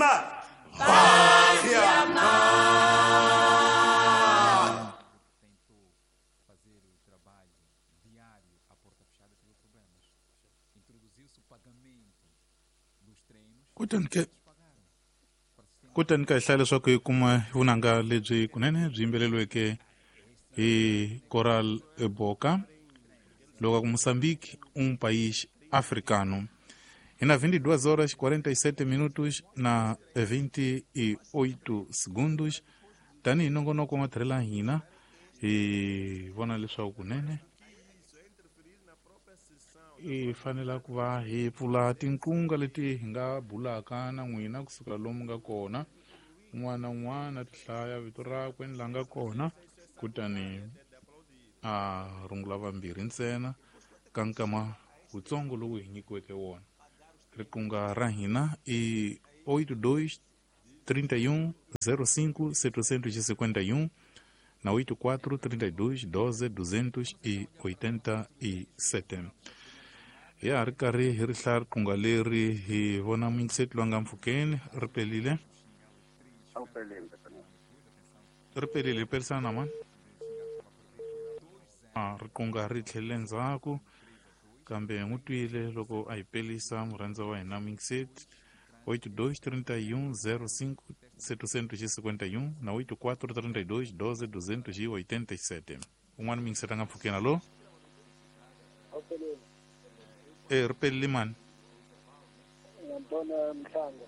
Amor. Paz e amor. Fazer o trabalho diário à porta fechada teve problemas. Introduziu-se o pagamento dos treinos. Kutani ka hlaya leswaku hi kuma vunanga lebyi kunene byi yimbeleriweke hi Coral Boca loko ku Moçambique país africano. E na 22 horas 47 minutos na 28 segundos tanihi nongonoko wa matirhelo hina hi vona leswaku kunene hi fanele ku va hi pfula tinqunga leti hi nga bulaka na n'wina kusukela lomu nga kona un'wana na un'wana ti hlaya vito rakwe ni la nga kona kutani a rungula vambirhi ntsena ka nkama wutsongo lowu hi nyikiweke wona. Riqunga ra hina i 82 31 05 751 na 84 32 12 287. Ya ri karhi hi ri hlaya riqunga leri hi vona muyingiseti loyi a nga mpfhukeni ri pelile. Ri pelile hi pelisana na mani? Riqunga ri tlhelele ndzhaku kambe n'wi twile loko a hi pelisa murhandza wa hina muyingiseti 82 31 05 751 na 84 32 12 287. Un'wana muyingiseti a nga mpfhukeni alo? Ri pelile mani? Antônio Mhlanga.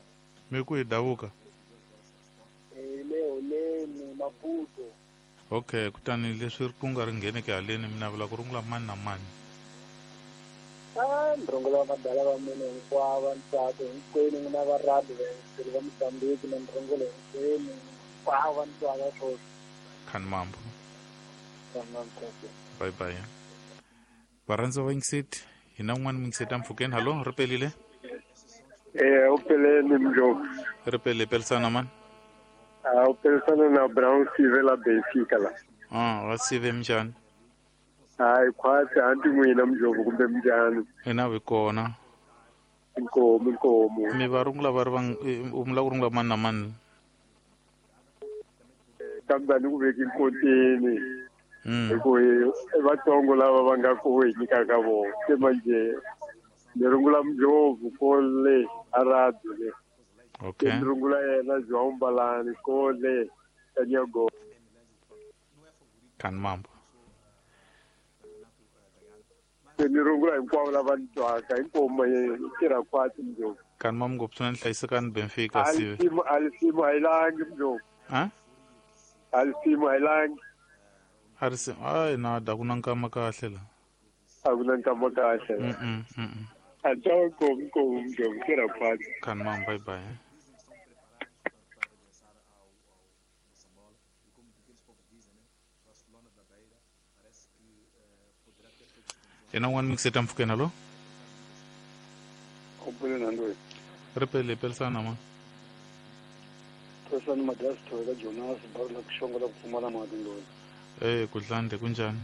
Mi ku hi davuka? Le Holeni Maputo. Okay, kutani leswi riqunga ri ngheneke haleni mi navela ku rungula mani na mani? Ni rungula madala va mina hinkwavo, ntsako hinkwenu n'wina va radio vaendleri va Mozambique na ni rungula hinkwenu hinkwavo va ni twaka swoswi. Khani mambo. Bye bye. Varhandzi va vayingiseti hi na un'wana muyingiseti ampfhukeni. Hallo, ri pelile? U peleni Mjovu. Ri pelile, pelisana mani? U pelisana na Brown Sive la Benfica la. Va Sive minjhani? Hayi khwatsi anti n'wina Mjovu kumbe minjhani? Ina vi kona. Inkomu inkomu. Mi va rungula va ri va u mi lava ku rungula mani na mani? Kambe a ni ku veki nkotini. Hi ku i vatsongo lava va nga ku hi nyikaka vona. Se manje ni rungula Mjovu kole a radio le. Okay. Ni rungula yena João Mbalani kole ka Nyago. Khani mambo. Ni rungula hinkwavo lava ni twaka inkomu yi tirha khwatsi Mjovu. Khani mambo ngopfu swinene, hlayisekani Benfica Sive. Alisimu ayilangi Mjovu. Ha? Alisimu ayilangi. A ri hayi nada ku na nkama kahle la. A ku na nkama kahle. A twa nkomu nkomu Mjovu tirha khwatsi. Khani mambo, bye bye. Yena un'wana muyingiseti ampfhukeni alo? Ri pelile, pelisana ma. Pelisana Madiasi Thoweka Jonas Barula ku xongola ku pfumala mati ndoyi. Kudlande kunjhani?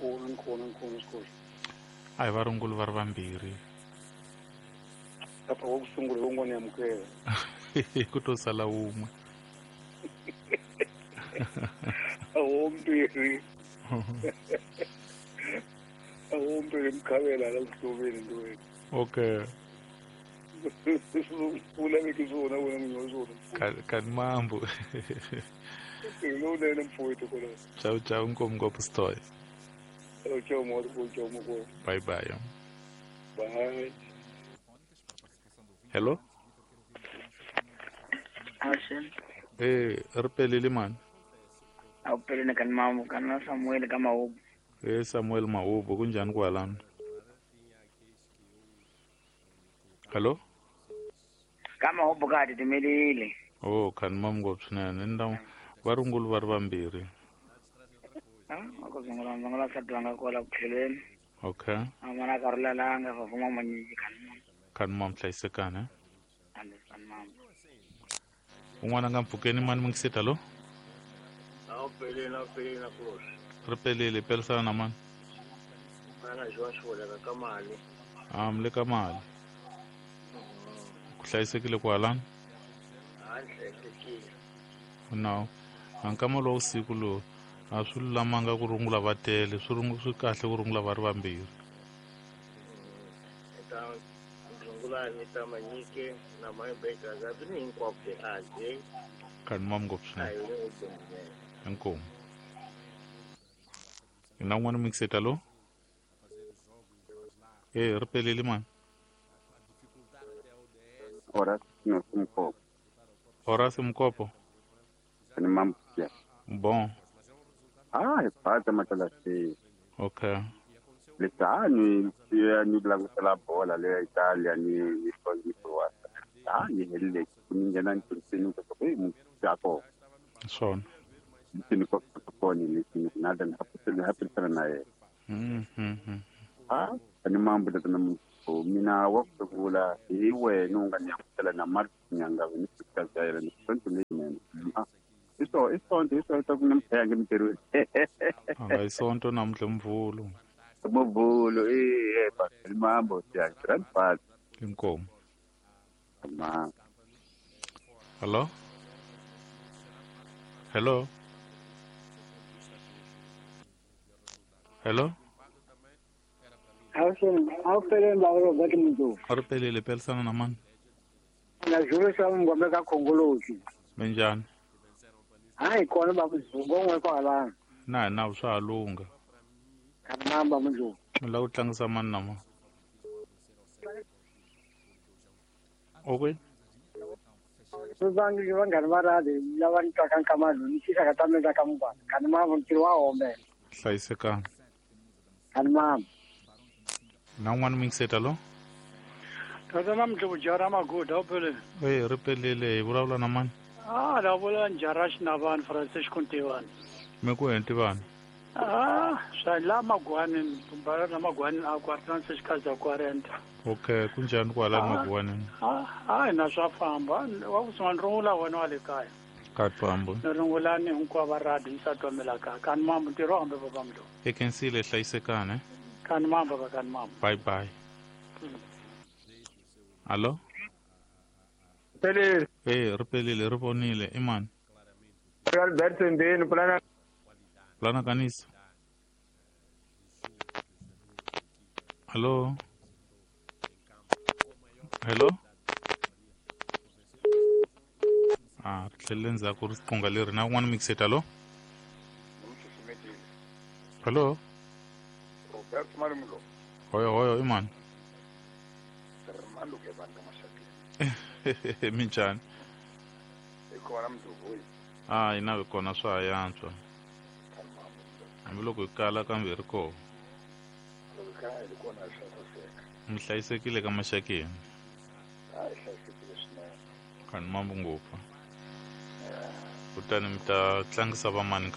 Kona kona kona xikoxo. A hi varunguli va ri vambirhi. Lapha wa ku sungula wun'wana ya amukela. Ku to sala wun'we. Awo mbirhi. Awo mbirhi mukhavela la kuhloveni ndoyi. Okay. U laveki swona wena n'winyi wa swona. Khani mambo. Lowunene mfowethu kwalaho. Ciao ciao nkomu ngopfu Sitoy. Ciao moro, ciao moko. Bye bye. Bye. Hello? Ashen. Ri pelile mani? A wu pelile kani mambo, kani na Samuel ka Mahubu. Samuel Mahubu, kunjhani kwalano? Hello? Ka Mahubu ka ha titimelile. Oh, khani mambo ngopfu swinene. Ni ta va rungula va ri vambirhi. Ku zungula zungula nsati wa nga kwala ku tlhelweni. Okay. A mana ka rulelanga va vuma manyiki khani mambo. Khani mambo hlayisekani. Khani mambo. Un'wana nga mpfhukeni mani muyingiseti alo? A wu pelile, a wu pelile na Kulosi. Ri pelile, pelisana na mani? Mana João Xivoleka ka mali. Mi le ka mali. Ku hlayisekile kwalani? A ni hlayisekile. No. Nkama lowu siku lowu a swi lulamanga ku rungula va tele, swi kahle ku rungula va ri vambirhi. Ta rungula ni ta manyike na maibeka za ni hinkwako a je. Kani mam ngopfu swinene. Inkomu. Na un'wana mixeta lo? Ri pelele mani. Horace Mkopo. Horace Mkopo. Ni mambo. Bon. Ah, ipata matalasi. Okay. Lesani ni langutela bola le Italia ni Croatia. Ah, ni hele ni ngena ni ko e mutako. Swona. Ni ko ko ni ni nada na hapo na ye. Ah, ni mambo da na mina wa kusungula hi wena u nga ni amukela na Mark Nyanga ni fika ni sonto leyinene. Iso isonto iso ku namhlanje ngitirweni. Anga isonto namuhla mvulo. Mvulo ba mambo ya grandfather. Inkomo. Ma. Hello? Hello? Hello? Awuphelele baba Robert Mntu. Ariphelele pelisana na mani? Na Zulu sa ngombe ka Khongolosi. Minjhani? Hayi kona baba Zulu ngongwe kwala. Na na swa lunga. Kanamba Mntu. Mi lava ku tlangisa mani na mani? Okay. Vangi vanghana va radi lava ni twaka nkamano ni xixaka ta mina ka mugwana. Kanamba ntirho wa hombe. Hlayisekani. Kanamba. Na un'wana mixeta lo? Tata namhla jara maguda uphelele. Ri pelele hi vulavula na mani? Ah, la vula njara xinavani Francisco Ntivani. Mi ku Ntivani? Ah, swa la magwani, bara la magwani a kwa Francisco za 40. Okay, kunjani kwala magwani? Ah, na swa famba. Wa ku sungula rungula wena wa le kaya. Ka famba. Rungula ni hinkwavo va radi ni sa twamela ka. Kan mambo ntirho hambe baba mlo. Ekensile hlayisekani. Kan mambo ba kan mambo. Bye bye. Allo? Pelele. Ri pelele ri vonile i mani? Albert Ndeni plana. Plana kanisa. Allo? Hello? Ah, ri tlhelele ndzhaku ri qunga leri na un'wana mixeta lo? Hello? Robert Marimlo. Hoyo hoyo i mani? Minjhani? Ah, ina hi kona swa ha yantswa. Hambiloko hi kala kambe hi ri kona. Mi hlayisekile ka maxakeni? Kani mambo ngopfu. Kutani mi ta tlangisa vamani?